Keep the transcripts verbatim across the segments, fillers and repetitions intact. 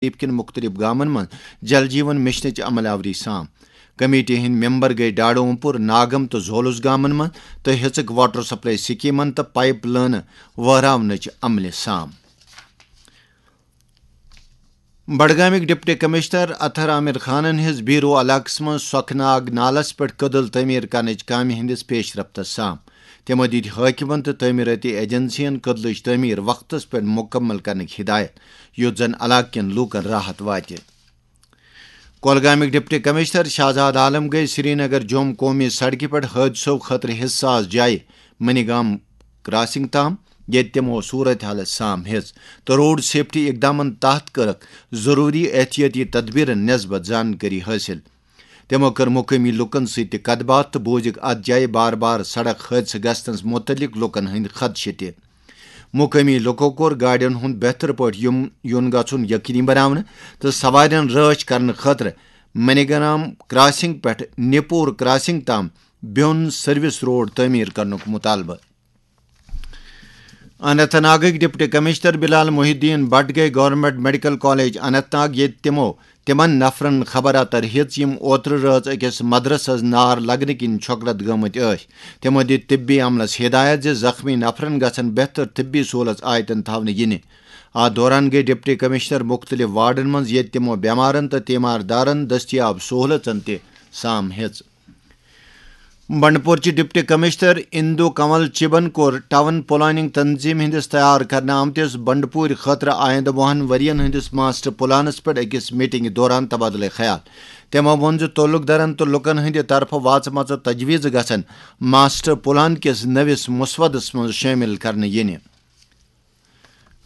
تہذیب کٮ۪ن مُختٔلِف گامَن منٛز جل جیون مشنٕچ عمل آوری سام۔ کمیٹی ہٕنٛدۍ ممبر گٔے ڈاڈومپور، ناگم تہٕ زولُس گامَن منٛز تہٕ ہیٚژٕکھ واٹر سپلائی سکیمن تہٕ پائپ لٲنہٕ وہراونٕچ عملہِ سام۔ بڈگامٕکۍ ڈپٹی کمشنر اطہر عامر خانن ہیٚژ بیرو علاقس منٛز سۄکھناگ نالس پٮ۪ٹھ کٔدٕل تعمیٖر کرنٕچ کامہِ ہٕنٛدِس پیش رفتس سام۔ تِمو دِتۍ حٲکمن تہٕ تعمیٖرٲتی ایجنسین کٔدلٕچ تعمیٖر وقتس پٮ۪ٹھ مُکمل کرنٕچ ہدایت، یُتھ زن علاقہٕ کٮ۪ن لوٗکن راحت واتہِ۔ کۄلگامٕکۍ ڈپٹی کمشنر شہزاد عالم گٔے سرینگر جوم قومی سڑکہِ پٮ۪ٹھ حٲدثو خٲطرٕ حساس جایہِ منی گام کراسنگ تام، ییٚتہِ تِمو صورت حالس سام ہیٚژ تہٕ روڈ سیفٹی اقدامن تحت کٔرٕکھ ضروٗری احتیاطی تدبیرن نسبت زانکٲری حٲصِل۔ تِمو کٔر مقٲمی لوٗکن سۭتۍ تہِ کتھ باتھ تہٕ بوٗزِکھ اتھ جایہِ بار بار سڑک حٲدثہٕ گژھنس مُتعلق لوٗکن ہٕنٛدۍ خدشہٕ تہِ۔ مقٲمی لوٗکو کوٚر گاڑٮ۪ن ہُنٛد بہتر پٲٹھۍ یُن، یُن گژھُن یقینی بناونہٕ تہٕ سوارٮ۪ن رٲچھ کرنہٕ خٲطرٕ منی گام کراسنگ پٮ۪ٹھ نِپور کراسنگ تام بیوٚن سروس روڈ تعمیٖر کرنُک مُطالبہٕ۔ اننت ناگٕکۍ ڈپٹی کمشنر بلال محی الدین بٹ گٔے government medical college Anant Nag, ییٚتہِ تِمو تِمن نفرن خبر اتر ہیٚژ، یِم اوترٕ رٲژ أکِس مدرسس نار لگنہٕ کِنۍ چھۄکڑت گٔمٕتۍ ٲسۍ۔ تِمو دِتۍ طبی عملس ہدایت زِ زخمی نفرن گژھن بہتر طبی سہولژ آیتن تھاونہٕ یِنہِ۔ اتھ دوران گٔے ڈپٹی کمشنر مُختٔلِف وارڈن منٛز، ییٚتہِ تِمو بٮ۪مارن تہٕ تیمار دارن دٔستیاب سہولژن تہِ سام ہیٚژ۔ بنڈپورچہِ ڈپٹی کمشنر اندو کنول چبن کوٚر ٹاؤن پلاننگ تنظیم ہٕنٛدِس تیار کرنہٕ آمتِس بنڈپورِ خٲطرٕ آیندٕ وُہن ؤرین ہٕنٛدِس ماسٹر پلانس پٮ۪ٹھ أکِس میٹنگہِ دوران تبادلہٕ خیال۔ تِمو ووٚن زِ تعلق دارن تہٕ لوٗکن ہٕنٛدِ طرفہٕ واژمژٕ تجویزٕ گژھن ماسٹر پلان کِس نٔوِس مسودس منٛز شٲمِل کرنہٕ یِنہِ۔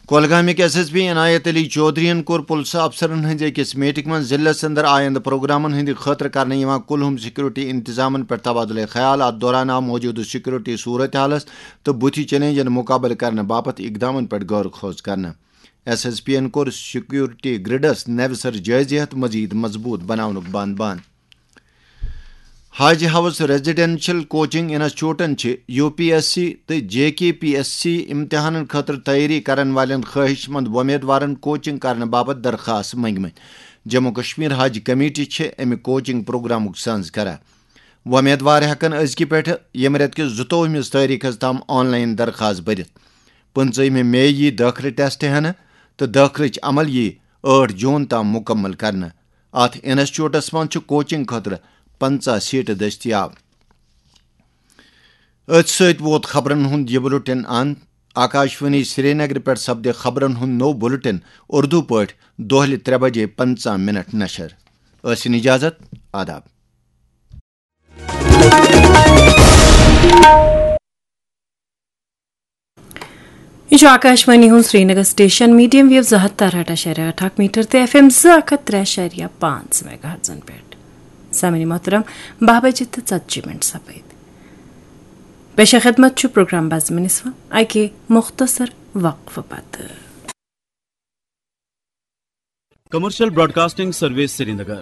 کۄلگامٕکۍ ایس ایس پی عنایت علی چودھرین کوٚر پُلسہٕ افسرن ہٕنٛزِ أکِس میٹنگ منٛز ضلعس اندر آیندٕ پروگرامن ہٕنٛدِ خٲطرٕ کرنہٕ یِوان کُلہُم سیکورٹی انتظامن پٮ۪ٹھ تبادلہٕ خیال۔ اتھ دوران آو موجودٕ سیکورٹی صورت حالس تہٕ بُتھِ چیلنجن مُقابلہٕ کرنہٕ باپتھ اقدامن پٮ۪ٹھ غور خوض کرنہٕ۔ ایس ایس پی ین کوٚر سیکورٹی گرڈس نوِ سرٕ جٲیزٕ ہیتھ مزید مضبوط بناونُک بان بان۔ حاج ہاؤس ریزیڈنشل کوچنگ انسٹیٹیوٹن چھِ یو پی ایس سی تہٕ جے کے پی ایس سی امتحانن خٲطرٕ تیٲری کرن والٮ۪ن خٲہِش مند وۄمیدوارن کوچنگ کرنہٕ باپتھ درخاست منگمٕتۍ۔ جموں کشمیر حج کمیٹی چھِ امہِ کوچنگ پروگرامُک سنز کران۔ وۄمیدوار ہٮ۪کن أزکہِ پٮ۪ٹھٕ ییٚمہِ رٮ۪تہٕ کِس زٕتووُہمِس تٲریخس تام آن لائن درخاست بٔرِتھ۔ پٕنٛژٕہمہِ مے یی دٲخلہٕ ٹیسٹ ہٮ۪نہٕ تہٕ دٲخلٕچ عمل یی ٲٹھ جون تام مُکمل کرنہٕ۔ اتھ انسٹیٹیوٹس منٛز چھِ کوچنگ خٲطرٕ پنٛژاہ سیٹہٕ دٔستیاب۔ أتھۍ سۭتۍ ووت خبرن ہُنٛد یہِ بُلٹن اند۔ آکاشوانی سرینگر پٮ۪ٹھ سپدِ خبرن ہُنٛد نوٚو بُلٹن اردو پٲٹھۍ دۄہلہِ ترٛےٚ بجے پنٛژاہ منٹ نشر۔ ٲسِن اجازت، آداب۔ یہِ چھُ آکاشوانی ہُنٛد سرینگر سٹیشن، میڈیم ویو زٕ ہتھ تہٕ ارہٹھ اَشاریہ ٲٹھ اکھ میٹر تہٕ ایف ایم زٕ اکھ ہتھ ترٛےٚ اَشاریہ پانٛژھ میگا ہرٹزن پٮ۪ٹھ۔ سامعین محترم، باہ بجے تہٕ ژتجی منٹ سپٕدۍ۔ پیش خدمت چھُ پروگرام بزمِ نسواں اَکہِ مختصر وقفہٕ پتہٕ۔ کمرشل براڈکاسٹنگ سروس سرینگر،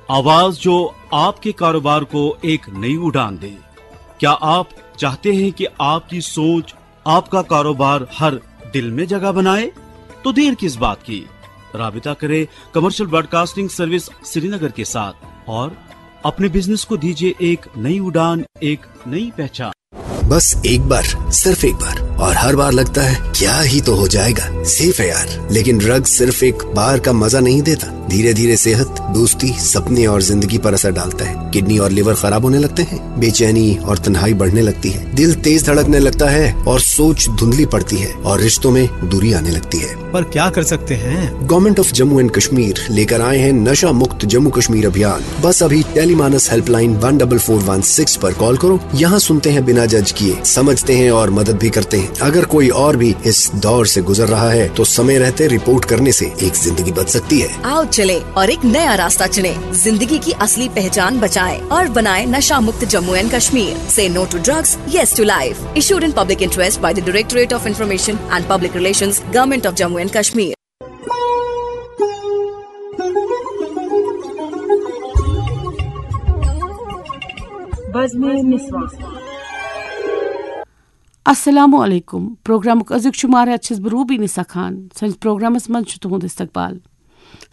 آواز جو آپ کے کاروبار کو ایک نئی اڑان دے۔ کیا آپ چاہتے ہیں کہ آپ کی سوچ آپ کا کاروبار ہر دل میں جگہ بنائے؟ تو دیر کس بات کی؟ رابطہ کرے کمرشل براڈکاسٹنگ سروس سرینگر کے ساتھ اور اپنے بزنس کو دیجیے ایک نئی اڑان، ایک نئی پہچان۔ बस एक बार, सिर्फ एक बार, और हर बार लगता है क्या ही तो हो जाएगा, सेफ है यार। लेकिन ड्रग्स सिर्फ एक बार का मजा नहीं देता। धीरे धीरे सेहत, दोस्ती, सपने और जिंदगी पर असर डालता है। किडनी और लिवर खराब होने लगते हैं, बेचैनी और तन्हाई बढ़ने लगती है, दिल तेज धड़कने लगता है और सोच धुंधली पड़ती है और रिश्तों में दूरी आने लगती है। पर क्या कर सकते हैं? Government of Jammu and Kashmir लेकर आए हैं नशा मुक्त जम्मू कश्मीर अभियान। बस अभी Telemanas helpline one double four one six पर कॉल करो। यहाँ सुनते हैं बिना जज किए, समझते हैं और मदद भी करते हैं। अगर कोई और भी इस दौर से गुजर रहा है तो समय रहते रिपोर्ट करने से एक जिंदगी बच सकती है। आओ चले और एक नया रास्ता चुने, जिंदगी की असली पहचान बचाएं और बनाएं नशा मुक्त Jammu and Kashmir. Say no to drugs, yes to life। Issued in public interest by the Directorate of Information and Public Relations, Government of Jammu and Kashmir। بزمِ نسواں۔ السلام علیکم۔ پروگرامُک أزیُک شمار ہٮ۪تھ چھَس بہٕ روبی نسا خان۔ سٲنِس پروگرامس منٛز چھُ تُہُنٛد استقبال۔